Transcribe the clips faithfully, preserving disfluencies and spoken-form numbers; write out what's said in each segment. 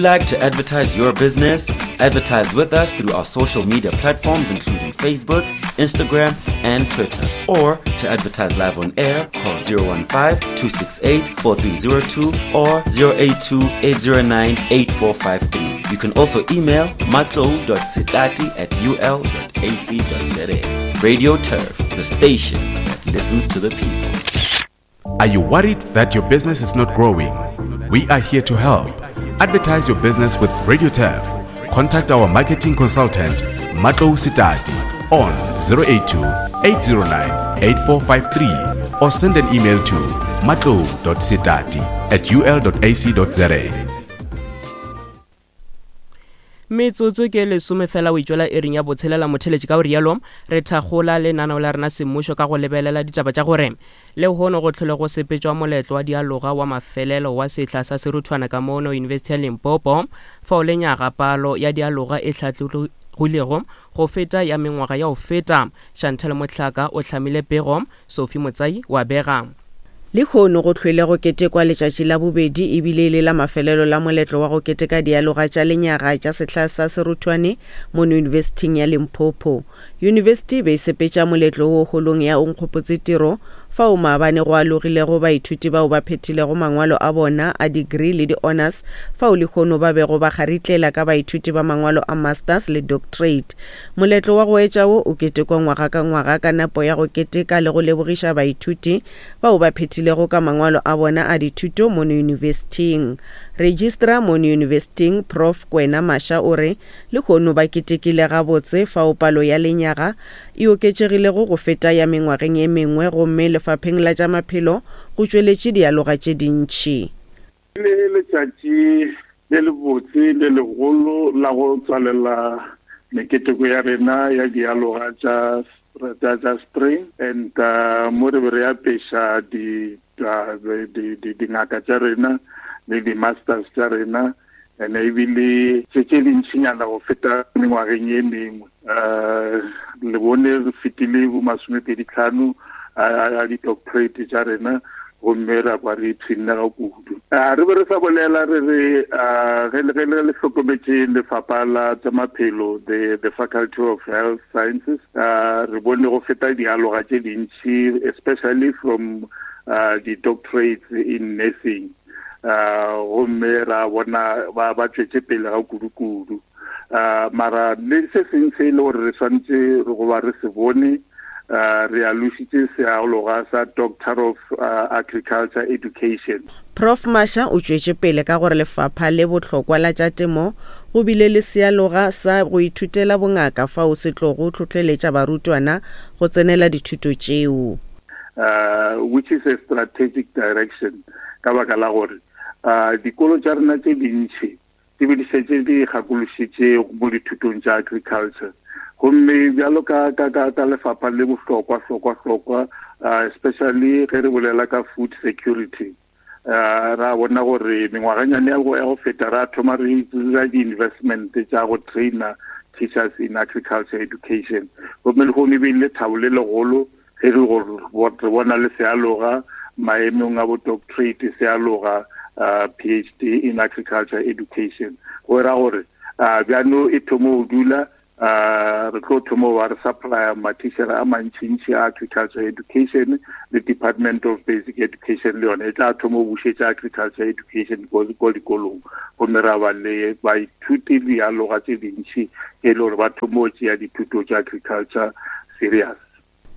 Like to advertise your business? Advertise with us through our social media platforms including Facebook, Instagram, and Twitter. Or to advertise live on air, call zero one five, two six eight, four three zero two or zero eight two, eight zero nine, eight four five three. You can also email matlou dot setati at u l dot a c dot z a. Radio Turf, the station that listens to the people. Are you worried that your business is not growing? We are here to help. Advertise your business with Radio Turf. Contact our marketing consultant, Matlou Setati, on zero eight two, eight zero nine, eight four five three or send an email to matlou dot setati at u l dot a c dot z a. Metsotso ke lesome fela o itšwela ering ya botshelela motheletši ka o rialo re thakgola lenaneo la rena semmušo ka go lebelela ditaba tša gore lehono go tlhole go sepetšwa moletlo wa dialoga wa mafelelo wa sehla sa seruthwana ka mono University ya Limpopo fao lenyaga palo ya dialoga e hlatlogilego go feta ya mengwaga ya go feta. Chantal Mohlaka o hlamile pego, Sophie Motsai wa bega. Lehono go hlwele go ketekwa letšatši la bobedi ebile e le la mafelelo la moletlo wa go keteka dialoga tša lenyaga tša sehla sa seruthwane mono Yunibesithing ya Limpopo. Yunibesithi e be e sepetša moletlo wo holong ya Onkgopotse Tiro fao maabane go alogilego baithuti bao ba phethilego mangwalo a bona a degree le di-honors fao lehono ba bego ba kgaritlela ka baithuti ba mangwalo a masters le doctorate. Moletlo wa go etša wo o ketekwa ngwaga ka ngwaga ka nepo ya go keteka le go lebogiša baithuti bao ba phethilego ka mangwalo a bona a dithuto mono yunibesithing. Registrar mono yunibesithing Prof Kwena Masha o re lehono ba ketekile gabotse fao palo ya lenyaga e oketšegilego go feta ya mengwageng e mengwe gomme lefapheng la tša maphelo go tšweletše dialoga tše dintši. Le letšatši le lebotse le legolo la go tswalela meketeko ya rena ya dialoga tša, tša, tša spring and, uh, mo re be re apeša di, di, di, di, dingaka tša rena le di-masters tša rena and ebile tše tše dintšinyana go feta mengwageng ye mengwe. Uh, le bone re fetile bo masomepedi tlhano a, a, a di-doctorate tša rena gomme ra kwa re ipshinne ga kudu. Ah, re be re sa bolela re re, ah, ge le, ge le, le hlokometše lefapha la tša maphelo, the, the Faculty of Health Sciences, ah, re bone go feta dialoga tše dintši, especially from, ah, di-doctorates in nursing. Ah, gomme ra bona ba, ba tšwetše pele ga kudu-kudu. Ah, mara le se seng se e le gore re swanetše go ba re se bone, ah, re alošitše sealoga sa Doctor of, ah, Agriculture Education. Prof Masha o tšwetše pele ka gore lefapha le bohlokwa la tša temo go bile le sealoga sa go ithutela bongaka fao se tlogo hlohleletša barutwana go tsenela dithuto tšeo. Uh, which is a strategic direction ka baka la gore, uh, dikolo tša rena tše dintši di be di šetše di gakološitše mo dithutong tša agriculture. Gomme bjalo ka, ka, ka, ka lefapha le bohlokwa, hlokwa, hlokwa, uh, especially ge re bolela ka food security, uh, ra bona gore mengwaganyane ya go, ya go feta ra thoma re dira di-investment tša go trainer teachers in agriculture education. Gomme lehono e be le lethabo le legolo ge re go, re bona le sealoga maemong a bo doctorate, sealoga, uh, P H D in agriculture education. Go ra gore, uh, bjano e thomo go dula, uh, re tlo thomo wa re supplier mathišere a mantšintši a agriculture education le Department of Basic Education le yona e tla thomo go bušetša agriculture education ko, ko dikolong. Gomme ra ba le baithuti le dialoga tše dintši e le gore ba thomo go tšea dithuto tša agriculture serious.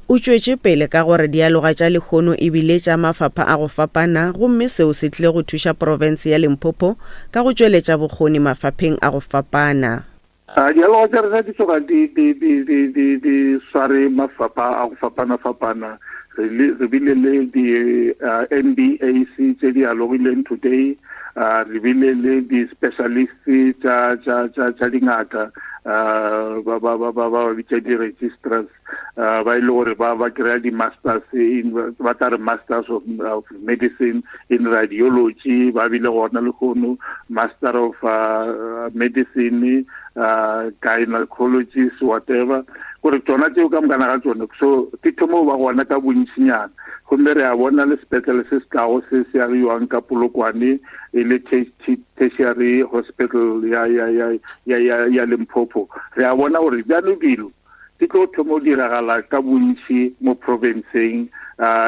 O tšwetše pele ka gore dialoga tša lehono e bile tša mafapha a go fapana gomme seo se tlile go thuša profense ya Limpopo ka go tšweletša bokgoni mafapheng a go fapana. Ah, dialoga tša rena di tloga di, di, di, di, di, di sware mafapha a go fapana-fapana. Re le, re bile le di, ah, M B A C tše di alogileng today, ah, re bile le di-specialists tša, tša, tša, tša dingaka, ah, ba, ba, ba, ba, ba bitša di-registrars, ah, ba e le gore ba, ba kry-a di-masters in, ba tla re masters of, of medicine in radiology, ba bile gona lehono, master of, uh, medicine, uh, gynecologist, whatever. Gore tsona tseo ka mokana ga tsona, so di thomo ba gona ka bontši bontšinyana. Gomme re a bona le sepetlele se se tlago se se agiwang ka Polokwane e le tertiary hospital ya ya ya ya ya ya Limpopo. Re a bona gore bjalo dilo di tlo thoma go diragala ka bontši mo provinceng.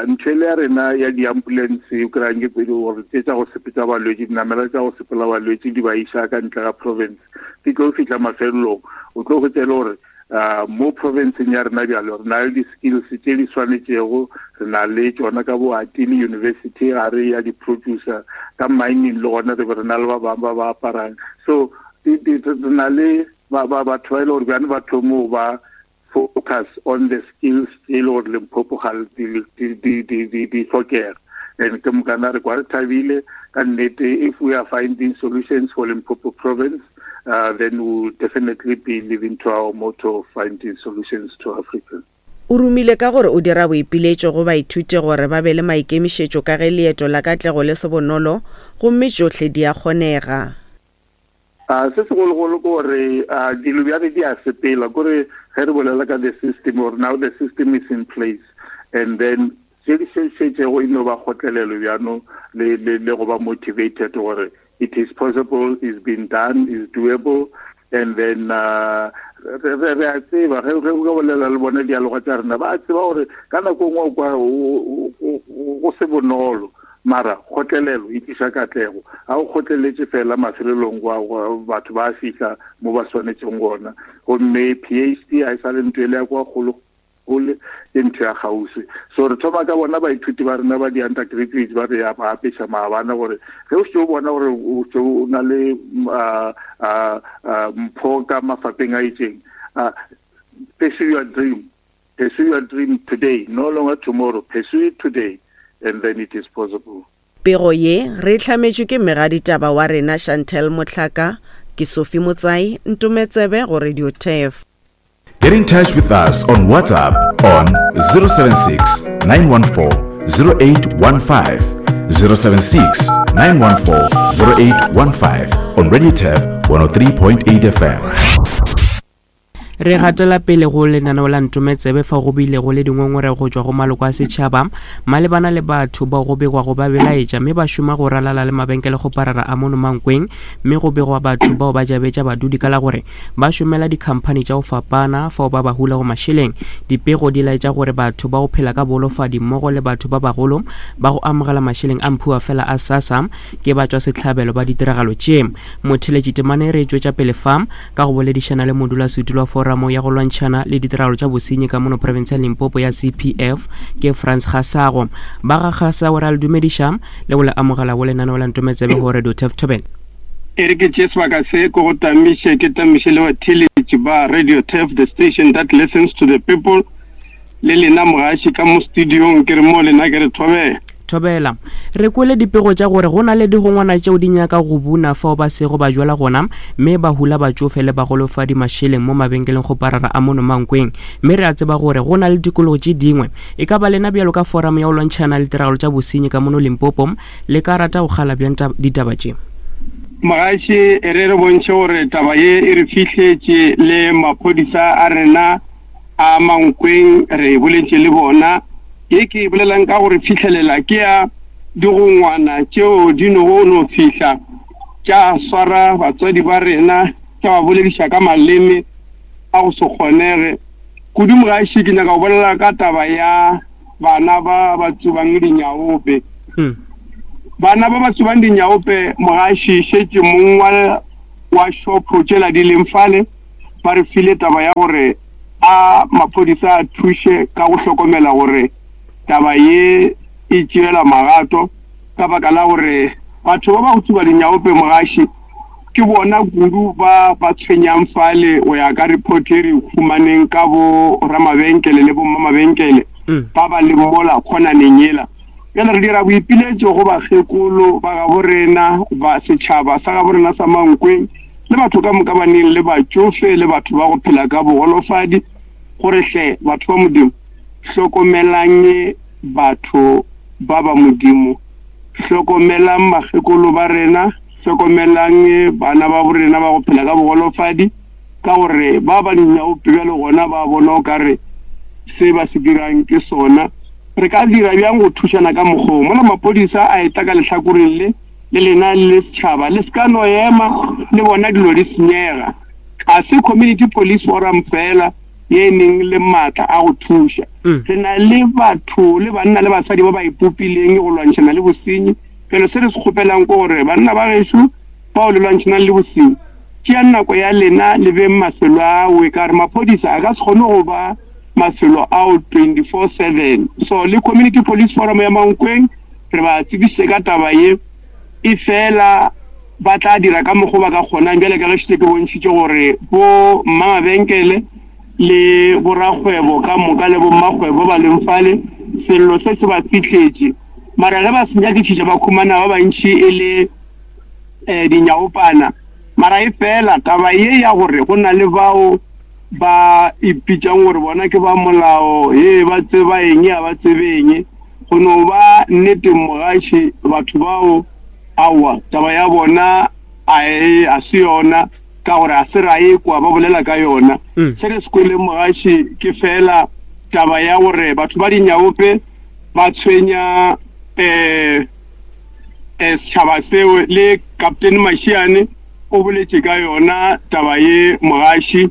Ntho ele ya rena ya di-ambulance o kry-ang ke pedi gore tse tša go sepetša balwetši, dinamela tša go sepela balwetši di ba iša ka ntle ga province, di tlo fihla mafelelong. O tlo hwetša e le gore mo provinceng ya rena bjalo re na le di-skills tše di swanetšego, re na le tšona ka bo Atile University ga re ya di-producer ka mining, le gona re be re na le ba bangwe ba ba aparang. So re na le batho ba e le gore bjane ba thomo ba focus on the skills e le gore Limpopo ga di hlokega. And ke mokana re kwa re thabile ka nnete. If we are finding solutions for Limpopo province, uh, then we will definitely be living to our motto of finding solutions to Africa. O romile ka gore o dira boipiletšo go baithuti gore ba be le maikemišetšo ka ge leeto la katlego le se bonolo gomme tšohle di a kgonega. Uh, se segologolo ke gore uh, dilo bjale di a sepela, kore ge re bolela ka the system or now the system is in place, and then tše di šetšego e no ba kgotlelelo bjano le, le, le go ba motivated gore it is possible, is been done, is doable. And then uh, re re a tseba ge ge o bolela le bona dialoga tša rena, ba tseba gore ka nako nngwe kwa go se bonolo, mara kgotlelelo e tliša katlego. Ga o kgotleletše fela mafelelong kwa batho ba fihla mo ba swanetšeng gona. Gomme P H D ga e sa le ntho ele ya kwa kgolo kgole, ke ntho ya kgauswi. So re thoma ka bona baithuti ba rena ba di-undergraduate ba re ya ba apeša maabane gore ge o se o bona gore o se o na le mpho ka mafapeng a itseng, pursue your dream, pursue your dream today, no longer tomorrow, pursue it today, and then it is possible. Pego ye re hlametšwe ke mmegaditaba wa rena Chantel Motlhaka, ke Sophie Motsai, Ntometsebe go Radio Turf. Get in touch with us on WhatsApp on zero seven six, nine one four, zero eight one five, zero seven six, nine one four, zero eight one five on Radio Turf one oh three point eight F M. Re gatela pele go lenaneo la Ntometsebe fa go bile go le dingongorego go tšwa go maloko a setšhaba malebana le batho bao go begwago ba belaetša mme ba šoma go ralala le mabenkele go parara a mono Mankweng, mme go begwa batho bao ba jabetša badudi ka la gore ba šomela dikhamphani tša go fapana fao ba ba hula go mašeleng. Dipego di laetša gore batho ba go phela ka bolofadi mmogo le batho ba bagolo ba go amogela mašeleng a mphiwa fela a SASSA ke ba tšwa sehlabelo ba ditiragalo tše. Motheletši temane re tšwetša pele fa ka go boledišana le modulasetulo wa foramo ya go lwantšhana le ditiragalo tša bosenyi ka mono province ya Limpopo ya C P F ke Frans Kgasago. Ba ga Kgasago re a le dumediša le go le amogela go lenaneo la Ntometsebe go Radio Turf Thobela. E re ke tšee sebaka se ko go tamiše, ke tamiše le batheeletši ba Radio Turf, the station that listens to the people, le lena mogaši ka mo studiong, ke re mo lena ke re thobela. Thobela. Re kwele dipego tša gore go na le digongwana tšeo di nyaka go buna fao ba sego ba jwala gona, mme ba hula batšofe le bagolofadi mašeleng mo mabenkeleng go parara a mono Mankweng. Mme re a tseba gore go na le tikologo tše dingwe. E ka ba lena bjalo ka forum ya go lwantšhana le tiragalo tša bosenyi ka mono Limpopo, le ka rata go kgala bjang ditaba tše? Mogaši, e re re bontšhe gore taba ye e re fihletše le maphodisa a rena a Mankweng, re boletše le bona. Ye ke bolelang ka gore fihlelela ke ya digongwana tšeo di no no fihla tša swara batswadi ba rena, tša ba bolediša ka maleme a go se kgonege kudu. Mogaši, ke nyaka go bolela ka taba ya bana ba ba tsubang dinyaope. Bana ba ba tsubang dinyaope, mogaši, šetše mong wa wa shopo tšela di leng fale ba re file taba ya gore a maphodisa a thuše ka go hlokomela gore taba ye e tšeela magato, ka baka la gore batho ba ba go tsuba dinyaope, mogaši, ke bona kudu ba ba tshwenyang fale. O ya ka report e re humaneng ka bo ramabenkele le bo mmamabenkele ba ba le mola khonaneng yela. Bjale re dira boipiletšo go bakgekolo ba gabo rena, ba setšhaba sa gabo rena sa Mankweng, le batho ka moka ba neng le batšofe le batho ba go phela ka bogolofadi, gore hle batho ba Modimo, hlokomelang batho ba ba Modimo, hlokomelang bakgekolo ba rena, hlokomelang bana ba borena ba go phela ka bogolofadi, ka gore ba ba dinyaope bjale gona ba bona o kare se ba se dirang ke sona. Re ka dira bjang go thušana ka mokgwa wo? Mola maphodisa a etla ka lehlakoreng le, le lena le le setšhaba, le se ka no ema le bona dilo di senyega. Ga se Community Police Forum fela ye e neng le maatla a go thuša. Re na le batho le banna le basadi ba ba ipopileng go lwantšhana le bosenyi. Bjale se re se kgopelang ke gore banna ba gešo bao le lwantšhanang le bosenyi, tšeang nako ya lena le beng mafelo ao, ka gore maphodisa a ka se kgone go ba mafelo ao twenty-four seven. So le Community Police Forum ya Mankweng re ba tsebišitše ka taba ye, e fela ba tla dira ka mokgwa ba ka kgonang. Bjale ka ge šetše ke bontšhitše gore bo mmamabenkele le borakgwebo ka moka le bommakgwebo ba leng fale, sello se se ba fihletše. Mara ge ba se nyakišiša ba khumana ba bantši e le um dinyaopana. Mara e fela taba ye ya gore go na le bao ba ipitšang gore bona ke ba molao, ye ba tseba eng ya ba tsebe eng, go no ba nnete mogaši batho bao aowa taba ya bona a e a se yona, ka gore a se ra e kwa ba bolela ka yona. Se re se kweleng mogaši ke fela taba ya gore batho ba dinyaope ba tshwenya um setšhaba seo. Le Captain Mashiane o boletše ka yona taba ye mogaši,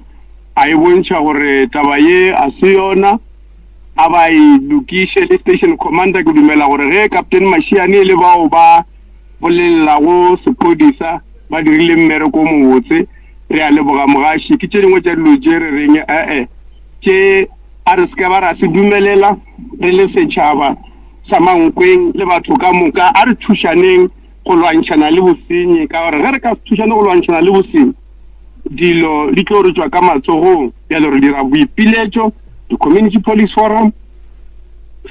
a e bontšha gore taba ye a se yona, a ba e lokiše. Le station commander ke dumela gore ge Captain Mashiane e le bao ba bolelelago sephodisa ba dirile mmereko o mobotse. Re a leboga mogaši. Ke tše dingwe tša dilo tše re reng ee tše a re se ka ba ra se dumelela re le setšhaba sa Mankweng le batho ka moka. A re thušaneng go lwantšhana le bosenyi, ka gore ge re ka se thušane go lwantšhana le bosenyi, dilo di tlo re tšwa ka matsogong. Bjale re dira boipiletšo, di-Community Police Forum,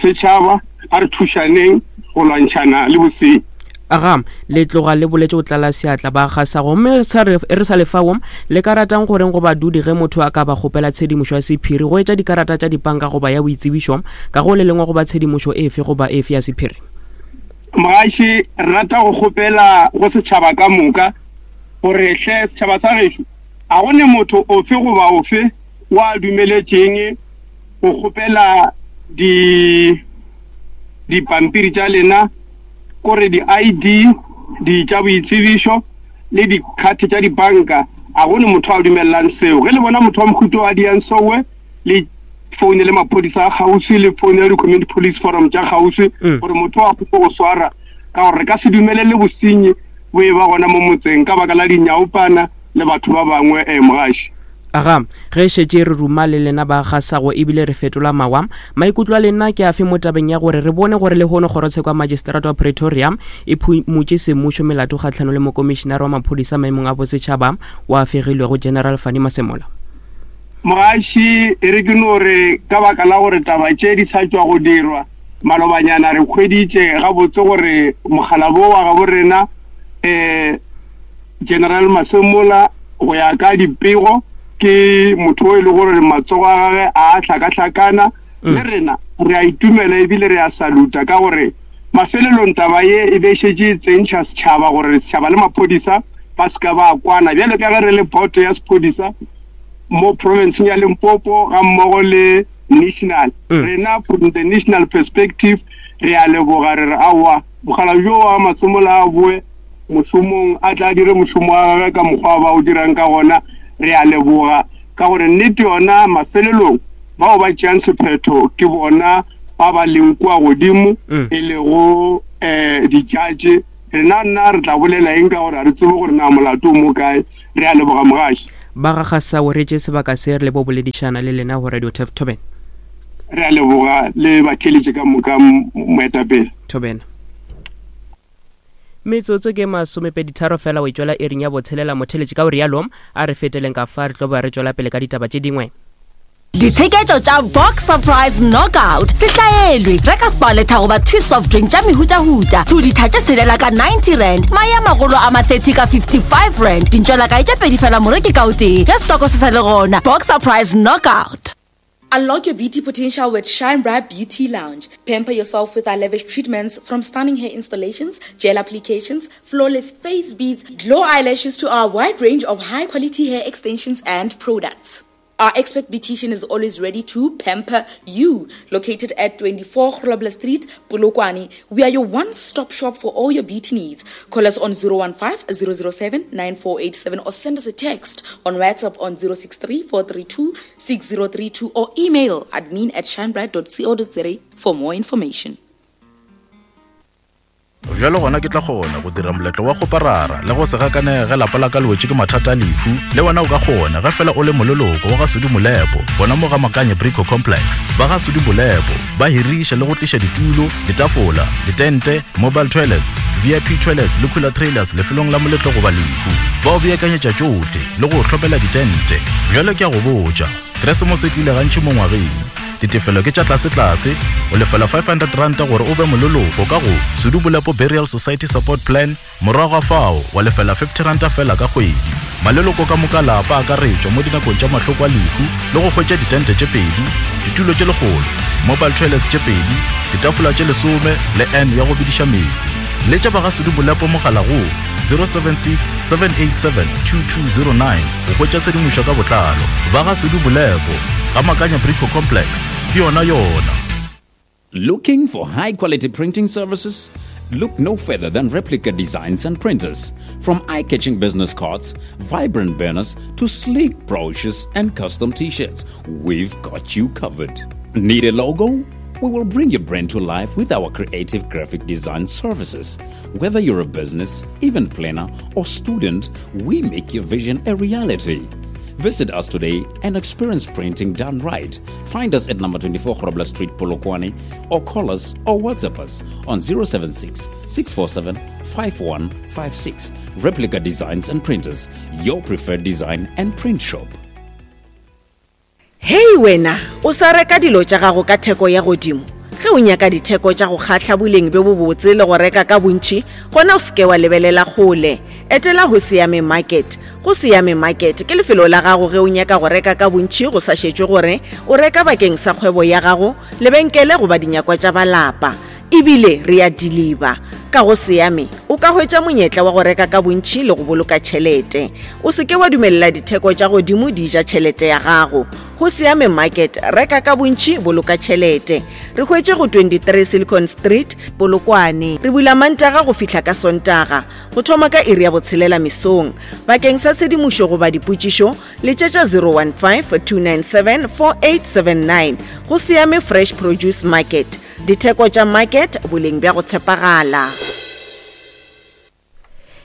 setšhaba, a re thušaneng go lwantšhana le bosenyi. Aga, le tloga le boletše go tlala seatla ba gasa. Gomme re sa lefao le ka ratang goreng go badudi ge motho a ka ba kgopela tshedimošo ya sephiri go etša dikarata tša dipanka goba ya boitsebišo ka go le lengwe goba tshedimošo efe goba efe ya sephiri? Mogaši, re rata go kgopela go setšhaba ka moka gore hle setšhaba sa gešo, a go ne motho ofe goba ofe wa dumeletšeng go kgopela di dipampiri tša lena, kore di-I D, di tša boitsebišo le dikhathi tša dibanka. A go ne motho a dumelelang seo. Ge le bona motho wa mohuta wa diang sowe, le foune le maphodisa a kgauswi, le foune le di-Community Police Forum tša kgauswi gore motho a kgone go swara, ka gore re ka se dumelele bosenyi bo e ba gona mo motseng ka baka la dinyaopana le batho ba bangwe. um mogaši. Aga, ge šetše re ruma le lena ba gasago ebile re fetola mawa, maikutlo a lena ke afe mo tabeng ya gore re bone gore lehono kgorotsheko ya magistrata wa Pretoria e phumotše semmušo melato kgahlano le mokomišenare wa maphodisa maemong a bosetšhaba wa fegilwego General Fannie Masemola? Mogaši, e re ke no re ka baka la gore taba tše di sa tšwa go dirwa malobanyana, re hweditše gabotse gore mokgalabo wa gabo rena um General Masemola go ya ka dipego ke motho o e le gore matsogo a gagwe a hlakahlakana. Le rena re a itumela ebile re a saluta, ka gore mafelelong taba ye e be šetše e tsentšha setšhaba gore setšhaba le maphodisa ba se ka ba kwana. Bjale ka ge re le boto ya sephodisa mo provinceng ya Limpopo ga mmogo le national, rena from the national perspective re a leboga, re re aowa mogala jo wa Masemola a boe mošomong, a tla dire mošomo wa gagwe ka mokgwa ba o dirang ka gona. Re a leboga ka gore nnete yona mafelelong bao ba tšeang sephetho ke bona ba ba leng kua godimo, e lego um di-judge. Rena nna re tla bolela eng ka gore ga re tsebe gore na molato o mo kae. Re a leboga mogaši. Ba ga Gasago re tše sebaka se re le bo boledišana le lena go Radio Turf Thobela. Re a leboga le batheeletše ka moka moetapele. Thobela. Metsotso ke masomepeditharo fela o e tšwela ering ya botshelela motheletše. Ka o rialo a re feteleng ka fa re tlo ba re tšwela pele ka ditaba tše dingwe. Ditsheketšo tša Box Surprise Knockout se hlaelwe. Reka Sparletta goba Twist soft drink tša mehutahuta two litha tše tshelela ka ninety rand, mae a magolo a ma thirty ka fifty-five rand, dintšwelakae tše pedi fela moreki ka o tee ge stoko se sa le gona. Box Surprise Knockout. Unlock your beauty potential with Shine Bright Beauty Lounge. Pamper yourself with our lavish treatments, from stunning hair installations, gel applications, flawless face beads, glow eyelashes to our wide range of high-quality hair extensions and products. Our expert beautician is always ready to pamper you. Located at twenty-four Grobler Street, Polokwane, we are your one-stop shop for all your beauty needs. Call us on zero one five, zero zero seven, nine four eight seven or send us a text on WhatsApp on zero six three, four three two, six zero three two or email admin at shinebright dot co dot za for more information. Bjalo gona ke tla kgona go dira moletlo wa go parara le go se gakanege ge lapa la ka le wetše ke mathata a lehu. Le wena o ka kgona ge fela o le moleloko wa ga Sudi Molepo, bona mo ga Makanye Brico Complex. Ba ga Sudi Molepo ba hiriša le go tliša ditulo, ditafola, ditente, mobile toilets, V I P toilets le cooler trailers lefelong la moletlo goba lehu. Ba o beakanyetša tšohle le go hlopela ditente. Bjalo ke a go botša, Keresemose e tlile gantši mo ngwageng. Ditefelo ke tša tlase-tlase, o lefela five hundred rand gore o be moleloko ka go Sudi Molepo Burial Society Support Plan, morago ga fao wa lefela fifty rand fela ka kgwedi. Maleloko ka moka lapa a akaretšwa mo dinakong tša mahloko a lehu le go hwetša ditente tše pedi, ditulo tše lekgolo, mobile toilets tše pedi, ditafola tše lesome le N ya go bediša meetse. Letša ba ga Sudi Molepo mogala go zero seven six, seven eight seven, two two zero nine go hwetša tshedimošo ka botlalo. Ba ga Sudi Molepo, ga Makanya Brico Complex, ke yona yona. Looking for high quality printing services? Look no further than Replica Designs and Printers. From eye-catching business cards, vibrant banners, to sleek brochures and custom t-shirts, we've got you covered. Need a logo? We will bring your brand to life with our creative graphic design services. Whether you're a business, event planner, or student, we make your vision a reality. Visit us today and experience printing done right. Find us at number twenty-four Grobler Street, Polokwane, or call us or WhatsApp us on zero seven six, six four seven, five one five six. Replica Designs and Printers, your preferred design and print shop. Hey wena, o sa reka dilo tša gago ka theko ya godimo. Ge o nyaka ditheko tša go kgahla boleng bjo bobotse le go reka ka bontši, gona o seke wa lebelela kgole. Etela go Siame Market. Go Siame Market ke lefelo la gago ge o nyaka go reka ka bontši go sa šetšwe gore o reka bakeng sa kgwebo ya gago, lebenkele goba dinyakwa tša balapa. Ebile re a deliver. Ka go Siame o ka hwetša monyetla wa go reka ka bontši le go boloka tšhelete. O seke wa dumelela ditheko tša godimo di ja tšhelete ya gago. Go Siame Market, reka ka bontši, boloka tšhelete. Re hwetše go twenty-three Silicon Street, Polokwane. Re bula Mantaga go fihla ka Sontaga, go thoma ka iri ya botshelela mesong. Bakeng sa tshedimošo goba dipotšišo, letšetša zero one five, two nine seven, four eight seven nine. Go Siame Fresh Produce Market. Ditheko tša market, boleng bja go tshepagala.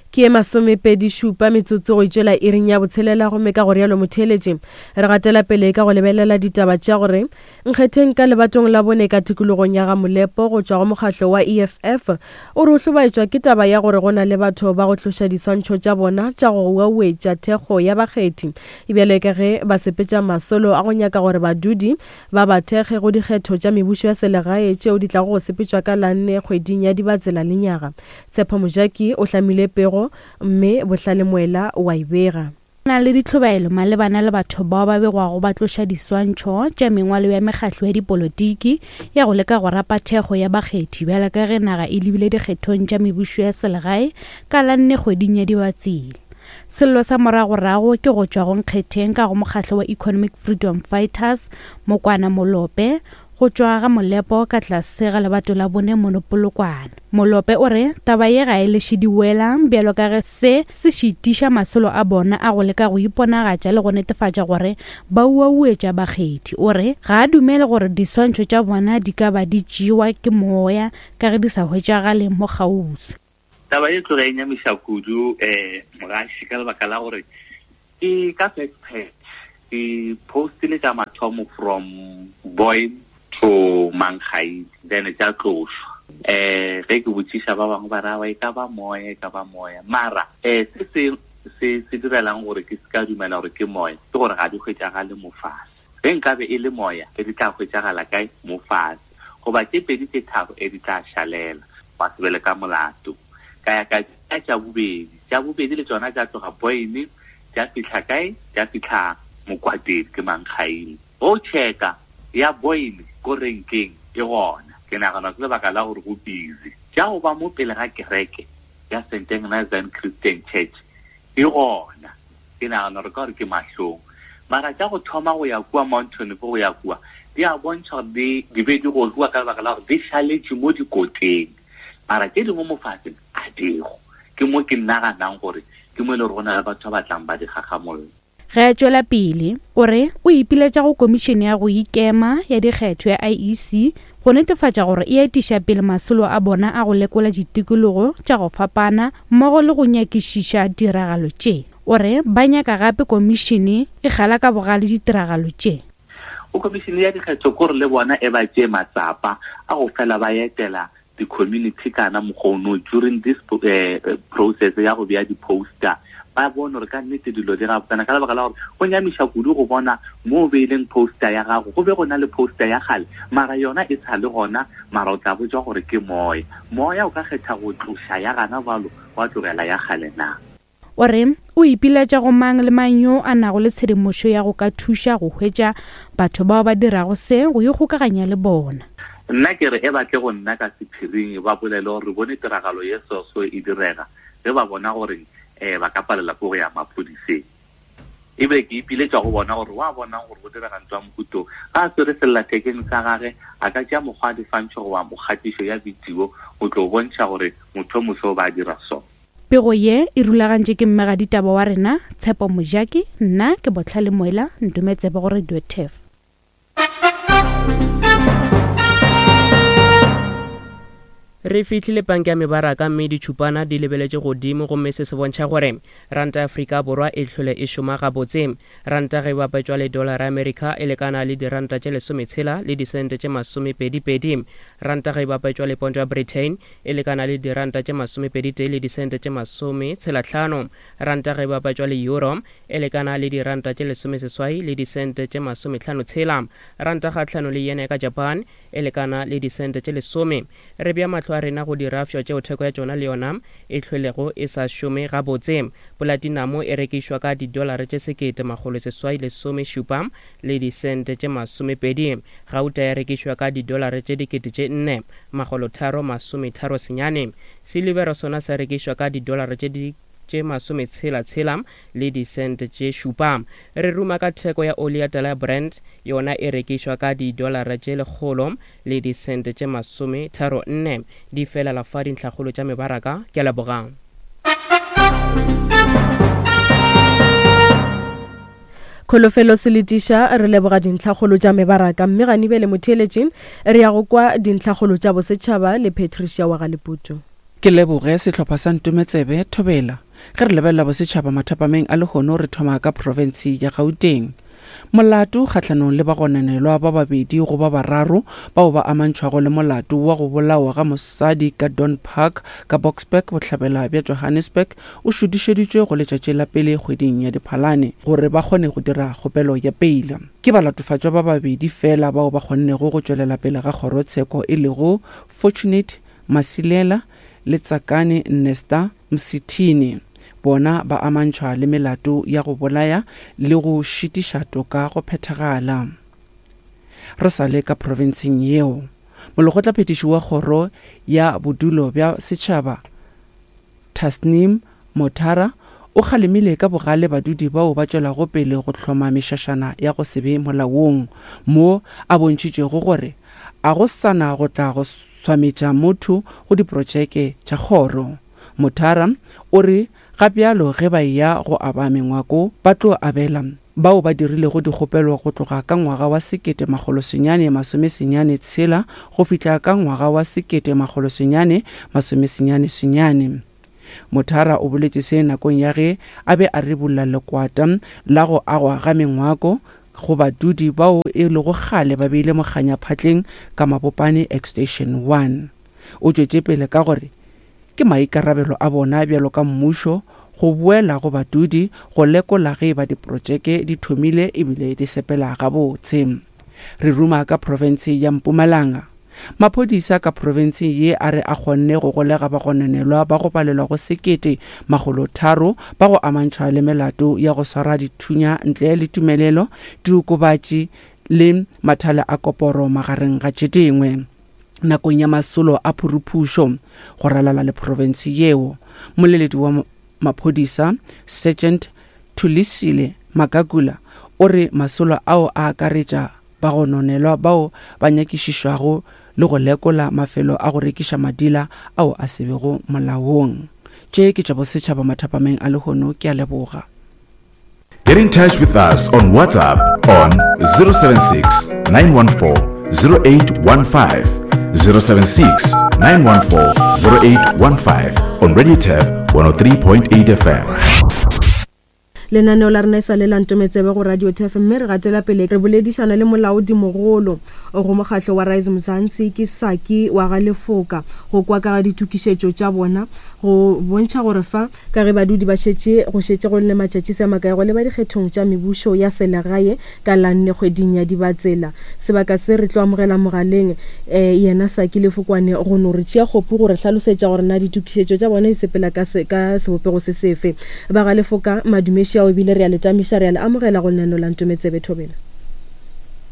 Ke e masomepedi šupa metsotso go itšwela iring ya botshelela, gomme ka go rialo motheeletše re gatela pele ka go lebelela ditaba tša gore nkgetheng ka lebatong la bone ka tikologong ya ga Molepo go tšwa go mokgahlo wa E F F o re o hlobaetšwa ke taba ya gore go na le batho ba go tloša diswantšho tša bona tša go uauetša thekgo ya bakgethi, ebjale ka ge ba sepetša masolo a go nyaka gore badudi ba ba thekge go dikgetho tša mebušo ya selegae tšeo di tlago go sepetšwa ka la nne kgweding ya Dibatsela lenyaga. Tshepo Mojaki o hlamile pego mme Bohlale Moela wa e bega. Na le ditlhobaelo malebana le batho bao ba begwago ba tloša diswantšho tša mengwalo ya mekgahlo ya dipolotiki ya go leka go rapa thekgo ya bakgethi bjalo ka ge naga e lebile dikgethong tša mebušo ya selegae ka la nne kgweding ya Dibatsela. Sello sa moragorago ke go tšwa go nkgetheng ka go mokgahlo wa Economic Freedom Fighters Mokwana Molope go tšwa ga Molepo ka tlase ga lebato la bone mono Polokwane. Molope o re taba ye ga e leše diwela bjalo ka ge se se šitiša masolo a bona a go leka go iponagatša le go netefatša gore ba uauetša bakgethi. O re ga a dumele gore diswantšho tša bona di ka ba di tšewa ke moya ka ge di sa hwetšagale mo kgauswi. Taba ye tloga e nyamiša kudu um mogaši ka lebaka la gore ke ka first page ke postile tša mathomo from Boy to Mangai, then tša tlošwa. Eh ge ke botšiša ba bangwe ba ra e ka ba moya, e ka ba moya. Mara eh se se se se direlang gore ke se ka dumela gore ke moya ke gore ga di hwetšagale mo fase. Ge nkabe e le moya e di tla hwetšagala kae? Mo fase. Goba tše pedi tše tharo e di tla šalela, ba se bele ka molato. Ka ya ka tša bobedi, tša bobedi le tšona tša tloga Boyne, tša fihla kae? Tša fihla Mokwatedi ke Mankgaile. Go checka ya Boyne ko renkeng e gona. Ke nagana ke lebaka la gore go busy. Tša go ba mo pele ga kereke ya Saint Agnes Christian Church e gona. Ke nagana gore ka gore ke mahlong. Mara tša go thoma go ya kua Mountain go ya kua di a bontšha gore di di be di gogiwa ka lebaka la gore di šaletše mo dikoteng. Mara tše dingwe mo faseng a digo. Ke mo ke naganang gore ke mo e le gore go na le batho ba batlang ba di gagamolla. Ge a tšwela pele, o re o ipiletša go Komišene ya go Ikema ya Dikgetho ya I E C go netefatša gore e etiša pele masolo a bona a go lekola ditikologo tša go fapana mmogo le go nyakišiša ditiragalo tše. O re ba nyaka gape komišene e kgala ka bogale ditiragalo tše. O komišene ya dikgetho kore le bona e ba tšee matsapa a go fela ba etela di-community kana mokgono during this uh, process ya go bea di-poster, ba bone gore ka nnete dilo di gabotsana ka lebaka la gore go nyamiša kudu go bona mo o beileng poster ya gago go be go na le poster ya kgale mara yona e sa le gona, mara o tla botšwa gore ke moya. Moya o ka kgetha go tloša ya gana bjalo wa tlogela ya kgale na. O re o ipiletša go mang le mang yo a nago le tshedimošo ya go ka thuša go hwetša batho bao ba dirago se go ikgokaganya le bona. Nna ke re e batle go nna ka sephiring ba bolele gore re bone tiragalo ye soso e direga ge ba bona gore um ba ka palela ko go ya maphodiseng. Ebile ke ipiletša go bona gore wa bonang gore go direga ntho ya mohuto ga a swere sellathekeng sa gage a ka tšea mokgwa wa diswantšho goba mokgatišo ya video go tlo bontšha gore motho o moso ba dira so. Pego ye e rulagantše ke mmegaditaba wa rena Tshepo Mojaki, nna ke Botlhale Moela, ntometsebe go Radio T E F. Re fihlile panka ya mebaraka mme ditšhupana di lebeletše godimo gomme se se bontšha gore ranta ya Afrika Borwa e hlole e šoma gabotse. Ranta ge e bapetšwa le dollar ya Amerika e lekana le diranta tše lesometshela le disente tše masomepedipedi. Ranta ge e bapetšwa le ponto ya Britain e lekana le diranta tše masomepeditee le disente tše masometshelahlano. Ranta ge e bapetšwa le euro e lekana le diranta tše lesomeseswai le disente tše masomehlano-tshela. Ranta kgahlano le yen ya ka Japan e lekana le disente tše lesome. Re bea mahlo a rena go dirafša tšeo theko ya tšona le yona e hlwelego e sa šome gabotse. Platinum e rekišwa ka didolara tše sekete makgolo seswai lesome šupa le disente tše masomepedi. Gauta ya rekišwa ka didolara tše dikete tše nne makgolo tharo masometharo senyane. Silivera sona sa rekišwa ka didolara tše di tše masometshela-tshela le disente tše šupa. Re ruma ka theko ya oli ya tala ya Brent, yona e rekišwa ka didolara tše lekgolo le disente tše masometharo nne. Di felela fa dintlhakgolo tša mebaraka. Ke a leboga. Kholofelo Seletiša, re leboga dintlhakgolo tša mebaraka mme ganibele motheeletši re ya go kwa dintlhakgolo tša bosetšhaba le Patricia wa Galeputu. Ke leboge sehlopha sa Ntometsebe Thobela. Ge re lebelela bosetšhaba mathapameng a lehono re thoma ka profense ya Gauteng. Molato kgahlanong le bagononelwa ba babedi go ba bararo bao ba amantšhwago le molato wa go bolawa ga mosadi ka Don Park ka Boksburg bohlabela bja Johannesburg o šutišeditšwe go letšatši la pele kgweding ya Diphalane gore ba kgone go dira kgopelo ya peila. Ke balatofatšwa ba babedi fela bao ba kgonnego go tšwelela pele ga kgorotsheko e lego Fortunate Masilela le Tsakane Nesta Msithini. Bona ba amantšhwa le melato ya go bolaya le go šitiša toka go phethagala. Re sa le ka profenseng yeo, molekgotlaphethiši wa kgoro ya bodulo bja setšhaba Tasneem Motara o kgalemile ka bogale badudi bao ba tšwelago pele go hloma mešašana ya go se be molaong, mo a bontšhitšego gore a go sana go tla go swametša motho go diprotšeke tša kgoro. Motara o re ga bjalo ge ba ya go aba mengwako ba tlo abela bao ba dirilego dikgopelo go tloga ka ngwaga wa sekete makgolo senyane masome senyane tshela go fihla ka ngwaga wa sekete makgolo senyane masome senyane senyane. Motara o boletše se nakong ya ge a be a ribolla lekwata la go agwa ga mengwako go badudi bao e lego kgale ba beile mokganya phatleng ka Mabopane Extension one. O tšwetše pele ka gore ke maikarabelo a bona bjalo ka mmušo go boela go badudi go lekola ge ba diprotšeke di thomile ebile di sepela gabotse. Re ruma ka profense ya Mpumalanga. Maphodisa ka profenseng ye a re a kgonne go golega bagononelwa ba go palelwa go sekete makgolo tharo ba go amantšhwa le melato ya go swara dithunya ntle le tumelelo, diokobatši le mathale a koporo magareng ga tše dingwe. Nakong ya masolo a phuruphušo go ralala le profense yeo, moleledi wa maphodisa Sergeant Thulisile Magagula O re masolo ao a akaretša bagononelwa bao ba nyakišišwago le go lekola mafelo a go rekiša madila ao a se bego molaong. Tše ke tša bosetšhaba mathapameng a lehono, ke a leboga. Get in touch with us on WhatsApp on zero seven six, nine one four, zero eight one five, zero seven six, nine one four, zero eight one five on Radio Turf one oh three point eight F M. Lenaneo la rena e sa le la Ntometsebe go Radio Turf, mme re gatela pele re boledišana le molaodimogolo go mokgatlo wa Rise Mzansi ke Saki wa ga Lefoka go kwa ka ga ditokišetšo tša bona go bontšha gore fa ka ge badudi ba šetše go šetše go le matšatši se makae go leba dikgethong tša mebušo ya selegae ka la nne kgweding ya Dibatsela. Sebaka se re tlo amogela mogaleng eh, yena Saki Lefokwane go no re tšea kgopu gore hlalosetša gore na ditokišetšo tša bona di sepela ka se, ka sebopego se sefe. Ba ga Lefoka madumeši ao ebile re a le tamiša, re a le amogela go lenaneo la Ntometsebe. Thobela.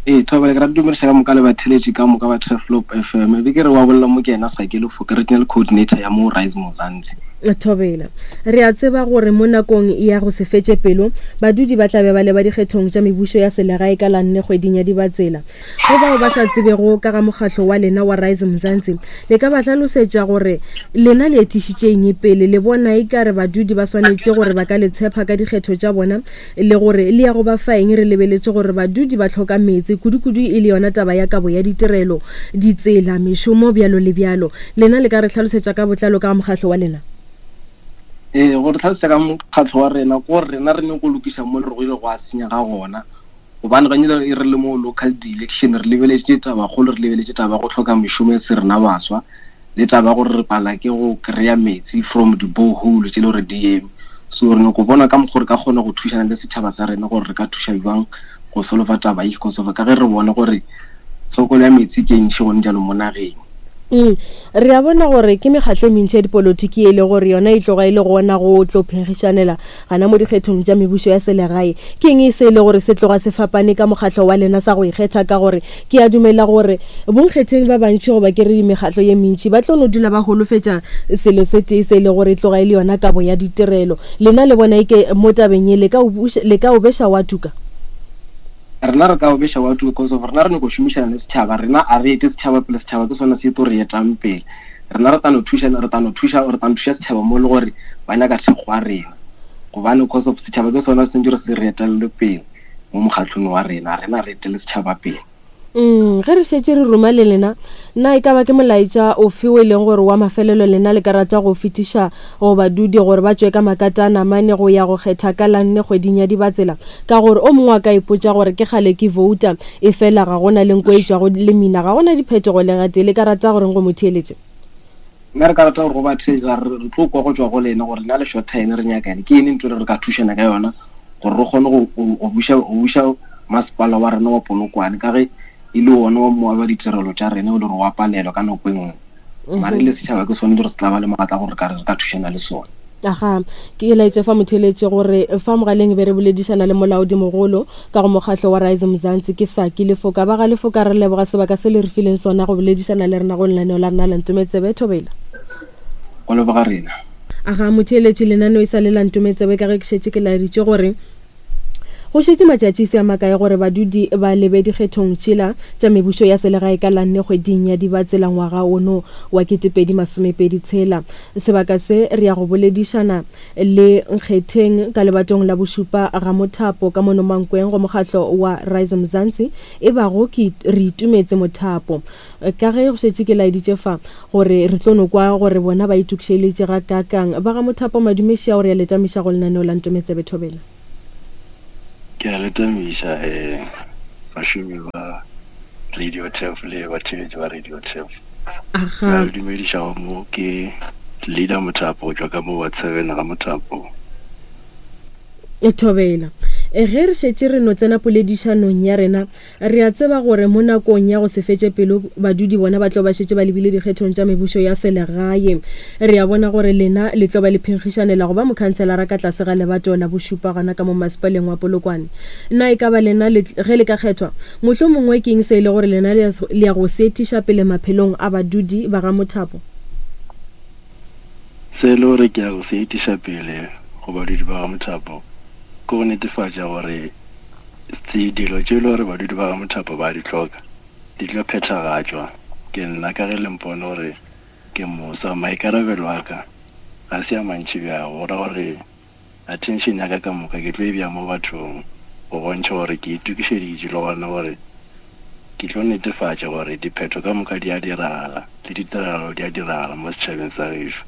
Ee, Thobela, ke rata dumediša ka moka le batheletši ka moka ba Turfloop F M. Be ke re wa bolela mo ke yena Saki Lefoka, regional coordinator ya mo Rise Mzansi. Thobela, re a tseba gore mo nakong ya go se fetše pelo badudi ba tla be ba leba dikgethong tša mebušo ya selegae ka la nne kgweding ya Dibatsela. Go bao ba sa tsebego ka ga mokgatlo wa lena wa Rise Mzansi, le ka ba hlalosetša gore lena le etišitše eng pele, le bona e ka re badudi ba swanetše gore ba ka le tshepa ka dikgetho tša bona, le gore le ya go ba fa eng re lebeletše gore badudi ba hloka meetse kudu-kudu e le yona taba ya kabo ya ditirelo, ditsela, mešomo, bjalo le bjalo. Lena le ka re hlalosetša ka botlalo ka mokgatlo wa lena? Ee, gore tlhalosetša ka mokgatlo wa rena ko rena re nyako lokiša mo le re go ile go a senya ga gona, gobane gantši e re le mo local election re lebeletše tabakgolo, re lebeletše taba go hloka mešomo e se rena baswa, le taba gore re pala ke go kry-a metsi from di-borehole tše le gore di eme. So re nyako bona ka mokgwa re ka kgona go thušana le setšhaba sa rena gore re ka thuša jwang go solova taba e, because of ka ge re bone gore tlhokolo ya metsi ke ntši gone jalo mo nageng. Mm. Re a bona gore ke mekgatlo e mentši ya dipolotiki e le gore yona e tloga e le gona go tlo phenkgišanela gana mo dikgethong tša mebušo ya selegae. Ke eng e se e le gore se tloga se fapane ka mokgatlo wa lena sa go ikgetha, ka gore ke a dumela gore bonkgetheng ba bantši goba ke re mekgatlo ye mentši ba tlo no dula ba holofetša selo se tee se e le gore e tloga e le yona kabo ya ditirelo. Lena le bona eke mo tabeng ye le ka le ka o beša wa tuka? Rena re ka o beša wa tuka because of rena re nyako šomišana le setšhaba, rena a re ete setšhaba pele, setšhaba ke sona se tlo re etang pele. Rena re tla no thuša, re tla no thuša, re tla no thuša setšhaba mo le gore ba nyaka thekgo ya rena, gobane because of setšhaba ke sona se ntse re se re etelele pele mo mokgatlong wa rena, rena re etele setšhaba pele. Mm, ge re šetše re ruma le lena, na e ka ba ke molaetša ofe o e leng gore wa mafelelo lena le ka rata go fetiša go badudi gore ba tšwe ka makatana mane go ya go kgetha ka la nne kgweding ya Dibatsela, ka gore o mongwe a ka ipotša gore ke kgale ke vouta e fela ga gona le nko e tšwago le mina, ga gona diphetogo le gatee, le ka rata goreng go mo theeletše? Nna re ka rata gore go ba theeletša, re tlo kwa go tšwa go lena gore lena le short ene re nyaka eng, ke eng ntho re ka thušana ka yona gore re kgone go buša go buša masepala wa rena wa Polokwane, ka ge e le wona wa moabi wa ditirelo tša rena o le gore wa palelwa ka nako e nngwe. Mare le setšhaba ke sone re tla ba le maatla gore re ka thušana le sona. Aga, ke laetše fa motheeletše gore fa mogaleng be re boledišana le molaodimogolo ka go mokgatlo wa Rise Mzansi ke Saki Lefoka. Ba ga Lefoka, re leboga sebaka se le re fileng sona go boledišana le rena go lenaneo la rena la Ntometsebe. Thobela. Go leboga rena. Aga, motheeletše, lenaneo e sa le la Ntometsebe ka ge ke šetše ke laeditše gore go šetše matšatši se a makae gore badudi ba lebe dikgethong tšela tša mebušo ya selegae ka la nne kgweding ya Dibatsela ngwaga ono wa ketepedi masomepedi tshela. Sebaka se re ya go boledišana le Nkgetheng ka lebatong la bošupa ga Mothapo ka mono Mankweng go mokgatlo wa Rise Mzansi e bago ke re itumetse Mothapo. Ka ge go šetše ke laeditše fa gore re tlo no kwa gore bona ba itokišeletše ga kakang. Ba ga Mothapo, madumeši ao re a letamiša go lenaneo la Ntometsebe. Thobela. Ke a letamiša eh bašomi ba Radio Turf le batheetši ba Radio Turf. Aga. Ke dumediša mo ke leader Mothapo go tšwa ka mo wa seven ga Mothapo. Thobela. Ge re šetše re no tsena poledišanong ya rena, re a tseba gore mo nakong ya go se fetše pelo badudi bona ba tlo ba šetše ba lebile dikgethong tša mebušo ya selegae. Re a bona gore lena le tlo ba le phenkgišanela go ba mokhanselara ka tlase ga lebato la bošupa gona ka mo masepaleng wa Polokwane. Na e ka ba lena ge le ka kgethwa, mohlomongwe ke eng se e le gore lena le ya go se etiša pele maphelong a badudi ba ga Mothapo? Se e le gore ke ya go se etiša pele go badudi ba ga Mothapo ke go netefatša gore Dilo tše e le gore badudi ba ga Mothapo ba di hloka di tlo phethagatšwa ke nna ka ge le mpone gore ke mosa. Maikarabelo a ka ga se a mantši bjago, go ra gore attention ya ka ka moka ke tlo e bea mo bathong go bontšha gore ke itokišeditše le gona gore ke tlo netefatša gore diphetho ka moka di a diragala le ditiragalo di a diragala mo setšhabeng sa gešo.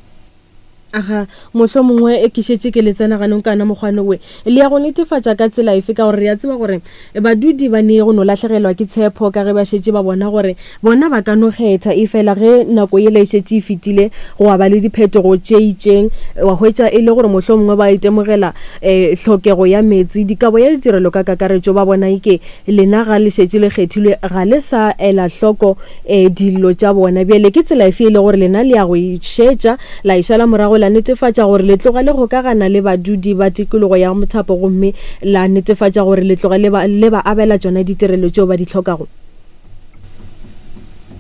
Aga, mohlomongwe ke šetše ke le tsena ganong kana mokgwane we le ya go netefatša ka tsela efe, ka gore re a tseba gore badudi ba ne go no lahlegelwa ke tshepo ka ge ba šetše ba bona gore bona ba ka no kgetha, e fela ge nako yela e šetše e fetile go ba le diphetogo tše itšeng, wa hwetša e le gore mohlomongwe ba itemogela um tlhokego ya metsi, dikabo ya ditirelo ka kakaretšo, ba bona eke lena ga le šetše le kgethilwe ga le sa ela hloko um dilo tša bona. Bjale ke tsela efe e le gore lena le ya go išetša la išala morago la netefatša gore le tloga le gokagana le badudi ba tikologo ya Mothapo gomme la netefatša gore le tloga le ba, le ba abela tšona ditirelo tšeo ba di hlokago?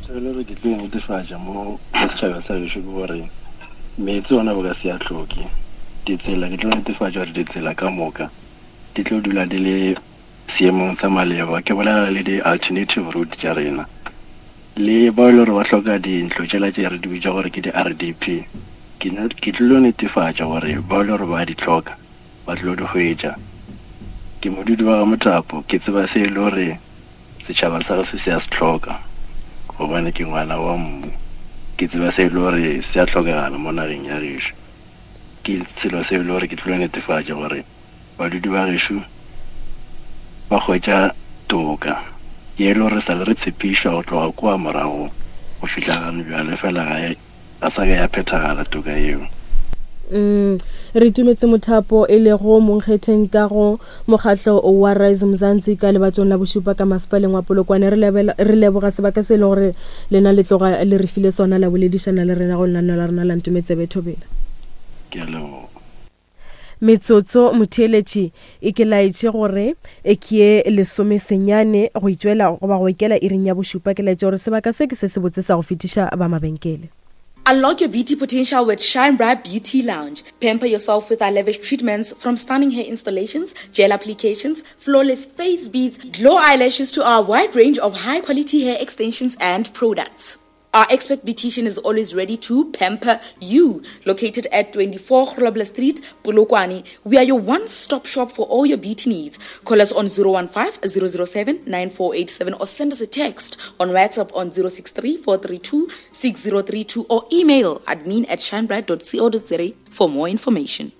Tsela re ke tlo netefatša mo setšhabeng sa gešo ke gore meetse ona bo ka se a hloke, ditsela ke tlo netefatša gore ditsela ka moka di tlo dula di le seemong sa maleba. Ke bolela le di-alternative route tša rena le bao e le gore ba hloka dintlo tšela tše re di bitša gore ke di-R D P, ke tlilo netefatša gore bao le gore ba di hloka ba tlilo di hwetša. Ke modudi wa ga Mothapo, ke tseba se e le gore setšhaba sa gešo se a se hloka gobane ke ngwana wa mmu, ke tseba se e le gore se a hlokagala mo nageng ya gešo. Ke selo se e le gore ke tlilo netefatša gore badudi ba gešo ba hwetša toka ye e le gore sa le re tshepišwa go tloga kua morago go fihla gane bjale, fela ga e ga sa ka ya phethagala toka yeo. Mm, re tumetse Mothapo e lego monkgetheng ka go mokgatlo wa Rise Mzansi ka lebatong la bošupa ka masepaleng wa Polokwane. Re leboga sebaka se e le gore lena le tloga le re file sona la boledišana le rena go lenaneo la rena la Ntometsebe Thobela. Ke a leboga. Metsotso motheeletši e ke laetše gore e ke lesome senyane go itšwela goba go ikela iring ya bošupa. Ke laetše gore sebaka se ke se se botse sa go fetiša ba mabenkele. Unlock your beauty potential with Shine Bright Beauty Lounge. Pamper yourself with our lavish treatments, from stunning hair installations, gel applications, flawless face beads, glow eyelashes to our wide range of high-quality hair extensions and products. Our expert beautician is always ready to pamper you. Located at twenty-four Grobler Street, Polokwane, we are your one-stop shop for all your beauty needs. Call us on zero one five, zero zero seven, nine four eight seven or send us a text on WhatsApp on zero six three, four three two, six zero three two or email admin at shinebright dot co dot za for more information.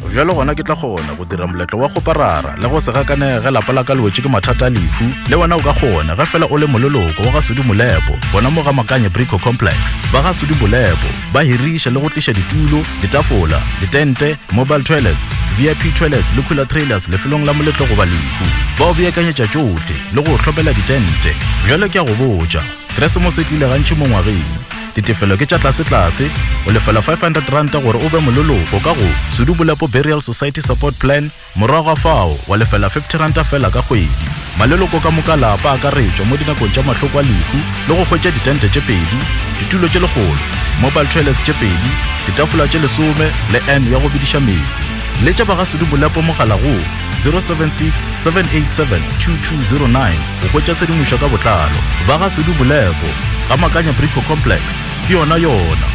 Bjalo gona ke tla kgona go dira moletlo wa go parara le go se gakanege lapa la ka le wetše ke mathata a lehu. Le wena o ka kgona ge fela o le moleloko wa ga Sudi Molepo gona mo ga Makanye Brico Complex. Ba ga Sudi Molepo ba hiriša le go tliša ditulo, ditafola, ditente, mobile toilets, V I P toilets le cooler trailers lefelong la moletlo goba lehu. Ba o beakanyetša tšohle le go hlopela ditente. Bjalo ke a go botša, Keresemose e tlile gantši mo ngwageng. Ditefelo ke tša tlase-tlase, o lefela five hundred rand gore o be moleloko ka go Sudi Molepo Burial Society Support Plan, morago ga fao wa lefela fifty rand fela ka kgwedi. Maleloko ka moka lapa a akaretšwa mo dinakong tša mahloko a lehu le go hwetša ditente tše pedi, ditulo tše lekgolo, mobile toilets tše pedi, ditafola tše lesome le N ya go bidiša metsi. Letša ba ga Sudi Molepo mogala go zero seven six, seven eight seven, two two zero nine go hwetša tshedimošo ka botlalo. Ba ga Sudi Molepo ga Makanya Brico Complex, ke yona yona.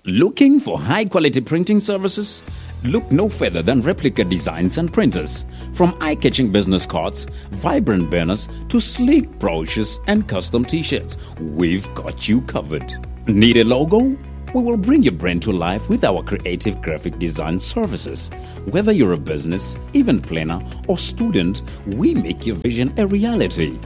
Looking for high quality printing services? Look no further than Replica Designs and Printers. From eye-catching business cards, vibrant banners, to sleek brochures and custom t-shirts, we've got you covered. Need a logo? We will bring your brand to life with our creative graphic design services. Whether you're a business, event planner, or student, we make your vision a reality.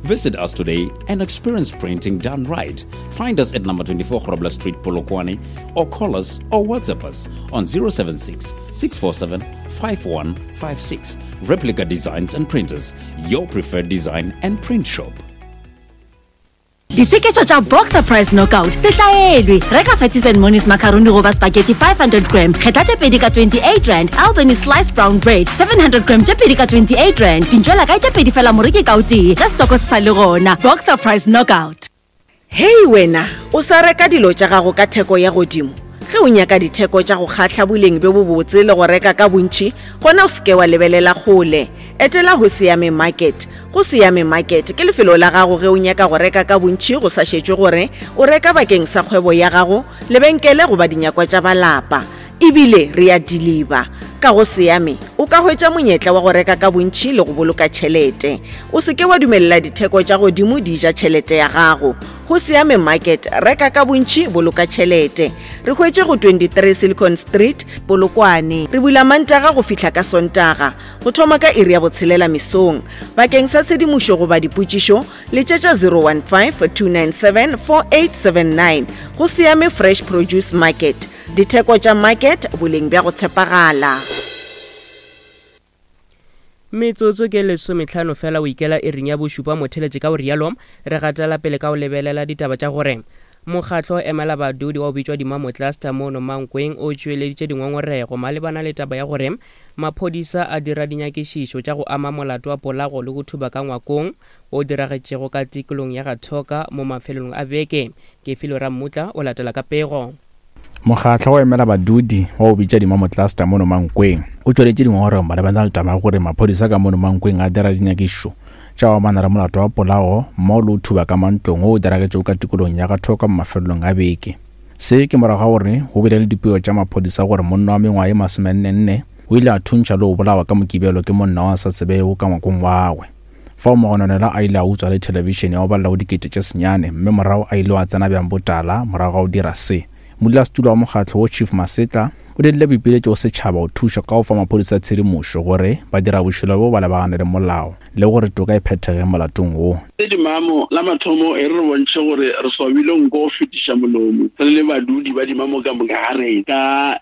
Visit us today and experience printing done right. Find us at number twenty-four Grobler Street, Polokwane, or call us or WhatsApp us on zero seven six, six four seven, five one five six. Replica Designs and Printers, your preferred design and print shop. Ditsheketšo tša Boxer Price Knockout se hlaelwe. Reka Fatties and Monies macaroni goba spaghetti five hundred gram, kgetha tše pedi ka twenty-eight rand. Albany sliced brown bread seven hundred gram tše pedi ka twenty-eight rand. Dintšwela kae tše pedi fela moreki ka o tee ge setoko se sa le gona. Boxer Price Knockout. Hei wena, o sa reka dilo tša gago ka theko ya godimo. Ge o nyaka ditheko tša go kgahla boleng bjo bobotse le go reka ka bontši, gona o se ke wa lebelela kgole. Etela go Siame Market. Go Siame Market ke lefelo la gago ge o nyaka go reka ka bontši go sa šetšwe gore o reka bakeng sa kgwebo ya gago, lebenkele goba dinyakwa tša balapa. Ebile re a deliver. Ka go Siame o ka hwetša monyetla wa go reka ka bontši le go boloka tšhelete. O se ke wa dumelela ditheko tša godimo di ja tšhelete ya gago. Go Siame Market, reka ka bontši, boloka tšhelete. Re hwetše go twenty-three Silicon Street, Polokwane. Re bula Mantaga go fihla ka Sontaga, go thoma ka iri ya botshelela mesong. Bakeng sa tshedimošo goba dipotšišo, letšetša zero one five, two nine seven, four eight seven nine. Go Siame Fresh Produce Market. Ditheko tša market, boleng bja go tshepagala. Metsotso ke lesometlhano fela o ikela iring ya bošupa motheletše ka o rialo re gatela pele ka o lebelela ditaba tša gore mokgatlo emela badudi wa o bitšwa Dimamo Cluster mono Mankweng o tšweleditše dingongorego malebana le taba ya gore maphodisa a dira dinyakišišo tša go ama molato wa polago le go thuba ka ngwakong o diragetšego ka tikolong ya Gathoka mo mafelong a beke. Kefilo Rammutla o latela ka pego. Mokgatlo wa emela badudi wa o bitša Dimamo Cluster mono Mankweng o tšweletše dingongorego malebana le taba ya gore maphodisa ka mono Mankweng a dira dinyakišišo tša go amana le molato wa polao mmogo le go thuba ka mantlong wo o diragetšego ka tikolong ya Gathoka mo mafelelong a beke. Se ke morago ga gore go bile le dipego tša maphodisa gore monna wa mengwaga ye masomennenne o ile a thuntšha le go bolawa ka Mokibelo ke monna wa sa tsebego ka ngwakong wa gagwe. Fao mogononelwa a ile a utswa le thelebišene ya go balela go dikete tše senyane mme morago a ile a tsena bjang botala morago ga go dira se. Modulasetulo wa mokgatlo wo Chief Masetla o dirile boipiletšo go setšhaba go thuša ka go fa maphodisa tshedimošo gore ba dira bošula bo ba lebagane le molao le gore toka e phethege molatong wo. Dimamo la mathomo e re re bontšhe gore re swabile nko go fetiša molomo re le badudi ba Dimamo ka moka ga rena ka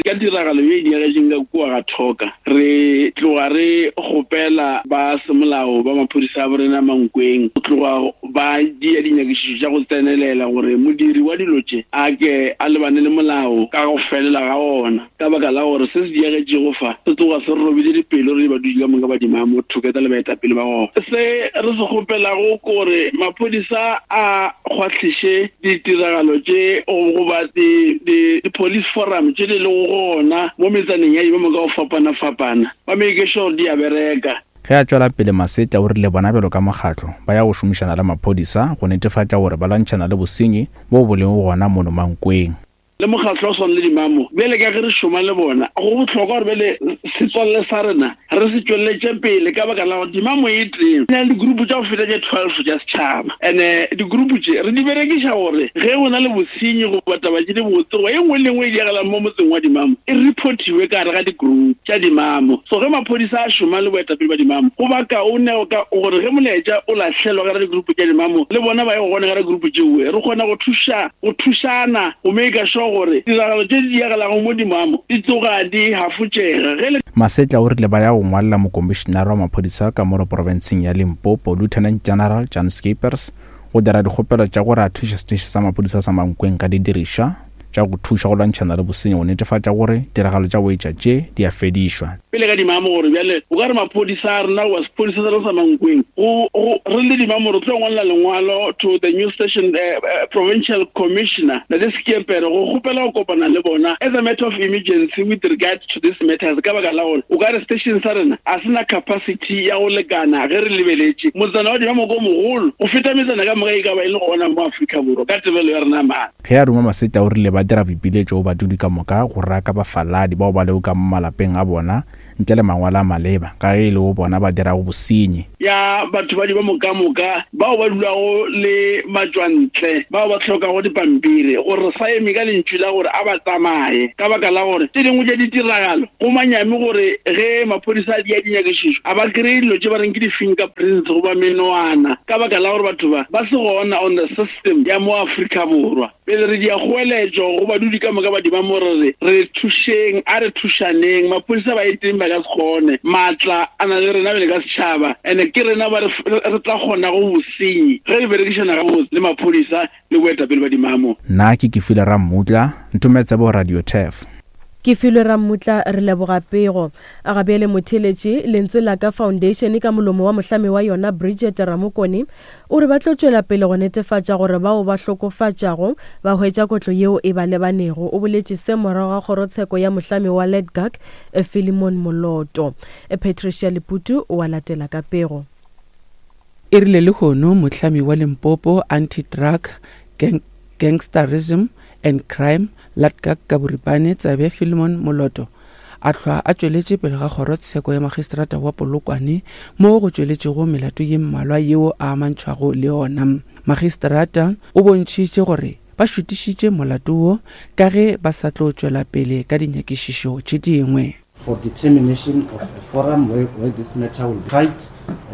ka tiragalo ye e diagetšeng ka kua ga Thoka. Re tloga re kgopela ba semolao ba maphodisa a borena Mankweng go tloga ba dia dinyakišišo tša go tsenelela gore modiri wa dilo tše a ke a lebane le molao ka go felela ga ona, ka baka la gore se se diagetšego fa se tloga se re robile dipelo re le badudi ka moka ba Dimamo thoketa le baetapele ba gona. Se re se kgopelago kore maphodisa a kgwahliše ditiragalo tše goba di-police forum tše di lego gona mo metsaneng ya Dimamo ka go fapana-fapana, ba make sure di a bereka. Ge a tšwela pele Masetla o rile bona bjalo ka mokgatlo ba ya go šomišana le maphodisa go netefatša gore ba lwantšhana le bosenyi bo bo lego gona mono Mankweng. Le mokgatlo o swana le Dimamo bjale ka ge re šoma le bona, go bohlokwa gore bjale setswalle sa rena re se tšweletše pele ka baka la gore Dimamo e teng na le digroup tša go feta tše twelve tša setšhaba, and-e digroup tše re di berekiša gore ge go na le bosenyi goba taba tše di botse goba e nngwe le nngwe e diagalang mo motseng wa Dimamo e reportiwe ka gare ga digroup tša Dimamo. So ge maphodisa a šoma le boetapele ba Dimamo go ba kaone ka gore ge molaetša o lahlelwa ka gare digroup tša Dimamo le bona ba ye go gona ka gare digroup tšeo, re kgona go thuša go thušana go make sure gore tiragalo tše di diagelago mo Dimamo di tloga di hafotšega. Ge le Masetla o rile ba ya go ngwalela mokomišenare wa maphodisa ka mo profenseng ya Limpopo Lieutenant General Jan Scheepers go dira dikgopelo tša gore a thuše seteiši sa maphodisa sa Mankweng ka didirišwa tša go thuša go lwantšhana le bosenyi go netefatša gore tiragalo tša boetša tše di a fedišwa. Pele ka Dimamo gore bjale o ka re maphodisa a rena goba sephodisa sa rena sa Mankweng go re le Dimamo re tlo ngwalela lengwalo to the new station uh, uh, provincial commissioner Ntate Skeepere go kgopela go kopana le bona as a matter of emergency with regard to this matters, ka baka la gore o ka re station sa rena a sena capacity ya go lekana ge re lebeletše motsana wa Dimamo ko mogolo go feta metsana ka moka e ka ba e le gona mo Afrika Borwa ka tebelo ya rena maatla. Ge a ruma Masetla o rile ba dira boipiletšo go badudi ka moka go raka bafaladi bao ba lego ka mo malapeng a bona ntle le mangwalo a maleba ka ge e le go bona ba dirago bosenyi. Ya batho ba Dimamo ka moka bao ba dulago le matšwantle bao ba hlokago dipampiri gore re sa eme ka lentšu la gore a ba tsamaye, ka baka la gore tše dingwe tša ditiragalo go manyami gore ge maphodisa a dia dinyakišišo a ba kry-e dilo tše ba reng ke di-fingerprints goba menwana, ka baka la gore batho ba ba se gona on the system ya mo Afrika Borwa. Pele re dia kgoeletšo go badudi ka moka ba Dimamo re re re thušeng, a re thušaneng, maphodisa ba eteng ba ka se kgone, maatla a na le rena bjale ka setšhaba, and-e ke rena ba re tla kgonago bosenyi ge re berekišana gabotse le maphodisa le boetapele ba Dimamo. Nna ke Kefile Rammutla, Ntometsebo Radio Turf. Ke filwe Rammutla re leboga pego. A gabele motheletše Lentswe la ka Foundation ka molomo wa mohlami wa yona Bridget Ramokone o re ba tlo tšwela pele go netefatša gore bao ba hlokofatšago ba hwetša kotlo yeo e ba lebanego. O boletše se morago ga kgorotsheko ya mohlami wa Ledgak Philemon Moloto. Patricia Leputu o a latela ka pego. E rile lehono mohlami wa Limpopo Anti-Drug Gang Gangsterism and Crime Ladgak ka boripane Tsabe Philemon Moloto a hlwa a tšweletše pele ga kgorotsheko ya magistrata wa Polokwane mo go tšweletšego melato ye mmalwa yeo a amantšhwago le yona. Magistrata o bontšhitše gore ba šutišitše molato wo ka ge ba sa tlo tšwela pele ka dinyakišišo tše dingwe. For determination of a forum where, where this matter will be tried,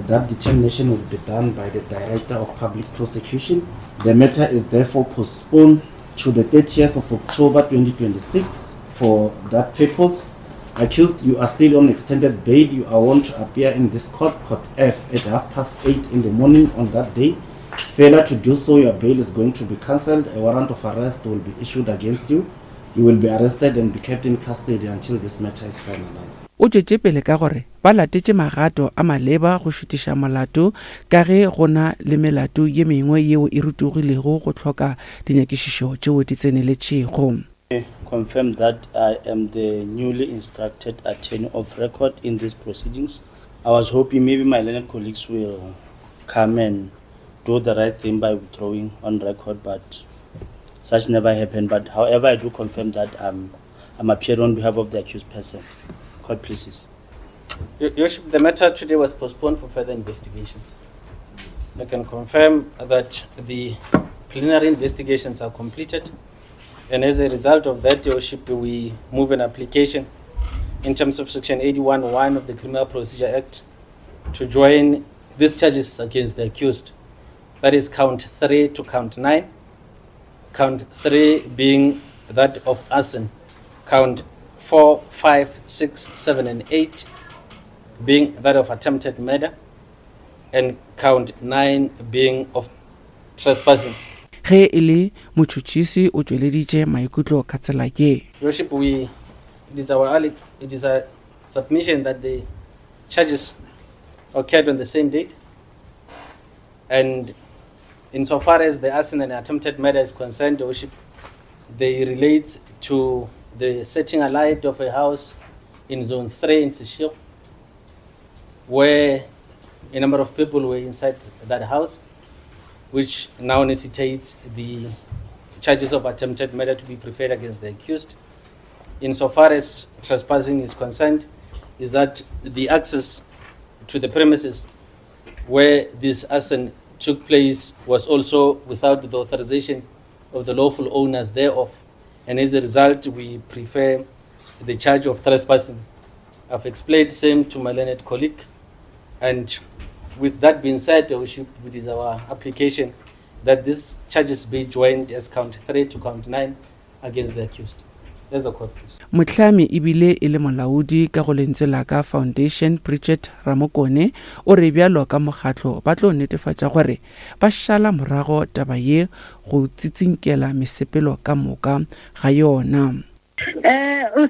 that determination will be done by the Director of Public Prosecution. The matter is therefore postponed to the thirtieth of October twenty twenty-six for that purpose. Accused, you are still on extended bail. You are warned to appear in this court, Court F, at half past eight in the morning on that day. Failure to do so, your bail is going to be cancelled. A warrant of arrest will be issued against you. You will be arrested and be kept in custody until this matter is finalized. O tšwetše pele ka gore ba latetše magato a maleba go šutiša molato ka ge go na le melato ye mengwe yeo e rutogilego go hloka dinyakišišo tšeo di tseneletšego. I confirm that I am the newly instructed attorney of record in these proceedings. I was hoping maybe my learned colleagues will come and do the right thing by withdrawing on record, but such never happened. But however, I do confirm that I'm, I'm appearing on behalf of the accused person. Court pleases. Your Worship, the matter today was postponed for further investigations. I can confirm that the preliminary investigations are completed, and as a result of that, Your Worship, we move an application in terms of Section eighty-one one of the Criminal Procedure Act to join these charges against the accused. That is count three to count nine. Count three being that of arson, count four, five, six, seven, and eight being that of attempted murder, and count nine being of trespassing. Ge e le motšhotšhisi o tšweleditše maikutlo ka tsela ye. Worship, we, it is our, it is a submission that the charges occurred on the same date, and insofar as the arson and attempted murder is concerned, Worship, they relate to the setting alight of a house in Zone three in Seshego, where a number of people were inside that house, which now necessitates the charges of attempted murder to be preferred against the accused. Insofar as trespassing is concerned, is that the access to the premises where this arson took place was also without the authorization of the lawful owners thereof. And as a result, we prefer the charge of trespassing. I've explained same to my learned colleague. And with that being said, it is our application that these charges be joined as count three to count nine against the accused. There's a court, please. Mohlami ebile e le molaodi ka go Lentswe la Ka Foundation Bridget Ramokone o re bjalo ka mokgatlo ba tlo netefatša gore ba šala morago taba ye go tsitsinkela mesepelo ka moka ga yona. Uh,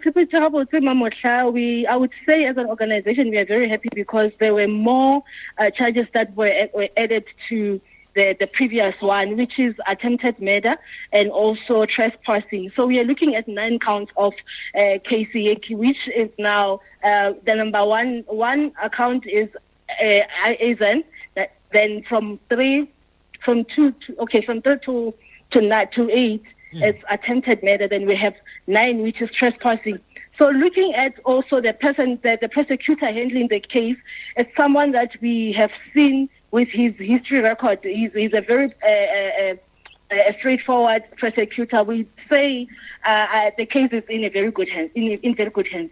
we, I would say as an organization we are very happy because there were more uh, charges that were, were added to the, the previous one, which is attempted murder and also trespassing. So we are looking at nine counts of uh, K C A, which is now uh, the number one. One account is uh, Azen. That then from three, from two, to, okay, from three to to nine, to eight. Mm. It's attempted murder. Then we have nine, which is trespassing. So looking at also the person, the, the prosecutor handling the case, it's someone that we have seen with his history record. He's, he's a very uh, uh, a straightforward prosecutor. We say uh, uh, the case is in a very good hand, in, in very good hands.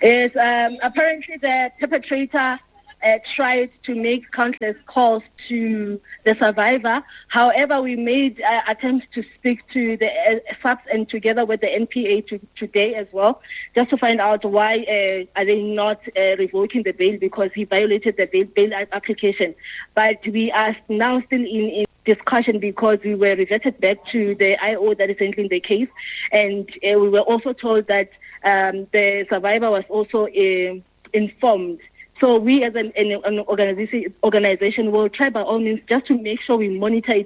Is um, apparently the perpetrator uh, tried to make countless calls to the survivor. However, we made uh, attempts to speak to the uh, S A P S and together with the N P A to, today as well, just to find out why uh, are they not uh, revoking the bail, because he violated the bail, bail application. But we are now still in, in discussion because we were reverted back to the I O that is handling the case, and uh, we were also told that um, the survivor was also uh, informed. So we as an, an, an organization, organization will try by all means just to make sure we monitor it.